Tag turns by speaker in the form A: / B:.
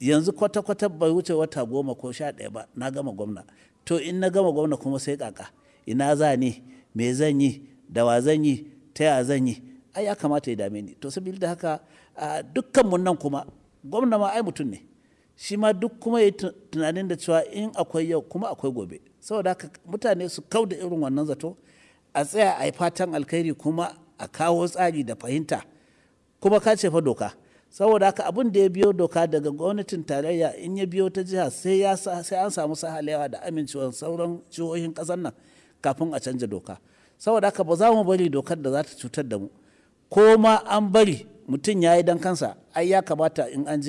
A: Yanzu kwata-kwata bai wuce wata 10 ko 11 ba na gama gwamna. To in na gama gwamna kuma sai kaka. Ina za ni? Me zan yi? Da wa zan yi? Ta ya zan yi? Ai ya kamata ya dame ni. To saboda haka dukkan mun nan kuma gwamna ma ai mutum ne. Shi ma duk kuma ya yi tunanin da cewa in akwai yau kuma akwai gobe. Saboda haka mutane su kau da irin wannan zato, a tsaya a yi fatan alkhairi kuma a kawo tsari da fahimta. Kuma ka ce fa doka. Saboda haka abin da ya biyo doka daga gwamnatin tarayya in ya biyo ta jiha sai an samu sahalewa da amincewar sauran jihohin ƙasar nan kafin a canja doka. Saboda haka ba za mu bari dokar da za ta cutar da mu. Ko ma an bari mutum ya yi don kansa, ai ya kamata in an je